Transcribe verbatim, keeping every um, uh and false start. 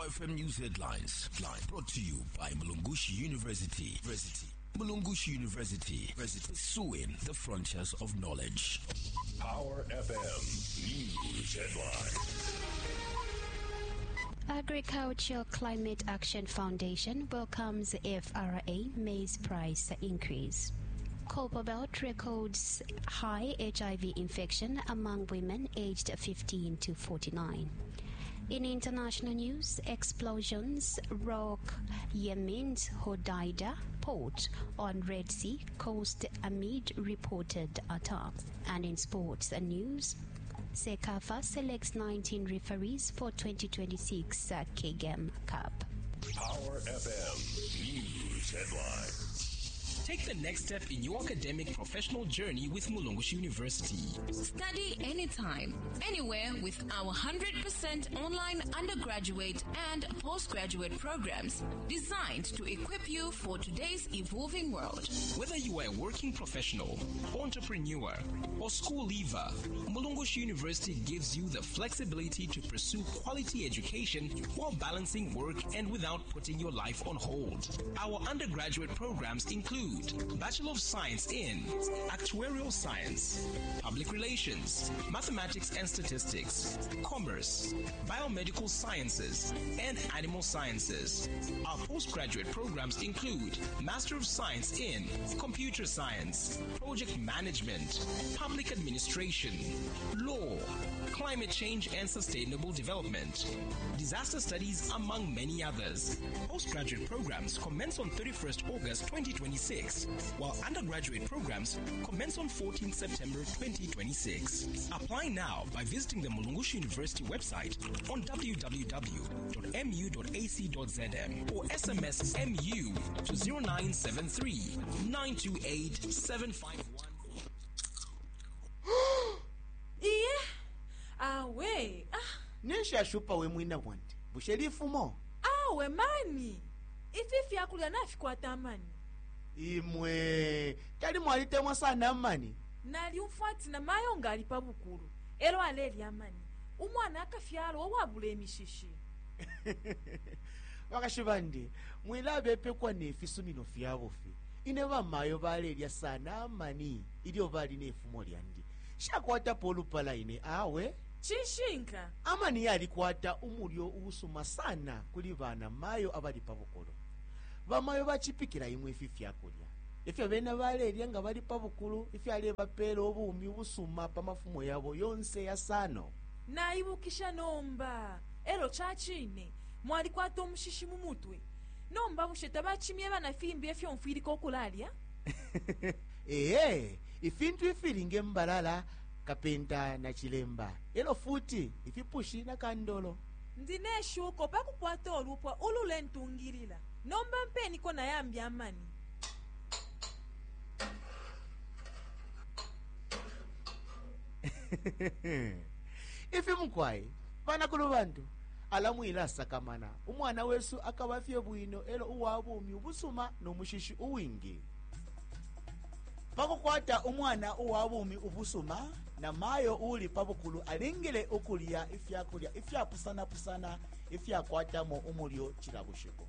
Power F M News Headlines. Line brought to you by Mulungushi University. University. Mulungushi University. University. Pursuing the frontiers of knowledge. Power F M News Headlines. Agriculture Climate Action Foundation welcomes F R A maize price increase. Copperbelt records high H I V infection among women aged fifteen to forty-nine. In international news, explosions rock Yemen's Hodeida port on Red Sea coast amid reported attacks. And in sports news, CECAFA selects nineteen referees for twenty twenty-six Kagame Cup. Power F M News Headlines. Take the next step in your academic professional journey with Mulungushi University. Study anytime, anywhere with our one hundred percent online undergraduate and postgraduate programs designed to equip you for today's evolving world. Whether you are a working professional, entrepreneur, or school leaver, Mulungushi University gives you the flexibility to pursue quality education while balancing work and without putting your life on hold. Our undergraduate programs include Bachelor of Science in Actuarial Science, Public Relations, Mathematics and Statistics, Commerce, Biomedical Sciences, and Animal Sciences. Our postgraduate programs include Master of Science in Computer Science, Project Management, Public Administration, Law, Climate Change and Sustainable Development, Disaster Studies, among many others. Postgraduate programs commence on thirty-first August twenty twenty-six, while undergraduate programs commence on fourteenth September twenty twenty-six. Apply now by visiting the Mulungushi University website on w w w dot m u dot a c dot z m or S M S M U to zero nine seven three nine two eight seven five one. Iye, awe, ah. Ninshi ashupa we mwina bwandi, bushe lifumo? Awe mani, ifi fyakulya nafikwata amani. Imwe tali mwalitemwa sana amani. Nalyumfwa ati namayo nga ali pa bukulu elo alelya amani, umwana akafyalwa uwabula imishishi. Bakashi bandi, mwilabepekwa ne fisumino fya bufi. Ine bamayo balelya sana amani ilyo bali ne fumo lyandi, shakwatapo olupala ine, awe. Cishinka. Amani yalikwata umulyo uusuma sana kuli bana mayo abali pa bukulu. Bamayo bacipikila imwe ifi fyakulya ifyo bena balelya nga bali pa bukulu, ifyalebapeela ubumi ubusuma pa mafumo yabo yonse yasano. Naibukisha nomba, elo cacine mwalikwata umushishi mu mutwe. Nomba bushe tabacimyeba na fimbi efyo mfwilika okulalya? Ee, ifintu ifili nge mbalala, kapenta na chilemba, elo futi ifipushi na kandolo. Ndi neshuko pakukwata olupwa ululentungilila. Nomba mpeniko nayambi amani. Ifi mukwai banakulu bantu ala mwilasakamana, umwana wesu akaba fye bwino elo uwa bumi ubusuma nomushishi uwingi. Pakukwata umwana uwa bumi ubusuma, na mayo uli pa bukulu alingile ukulya ifyakulya ifyapusanapusana ifyakwatamo umulyo cila bushiku.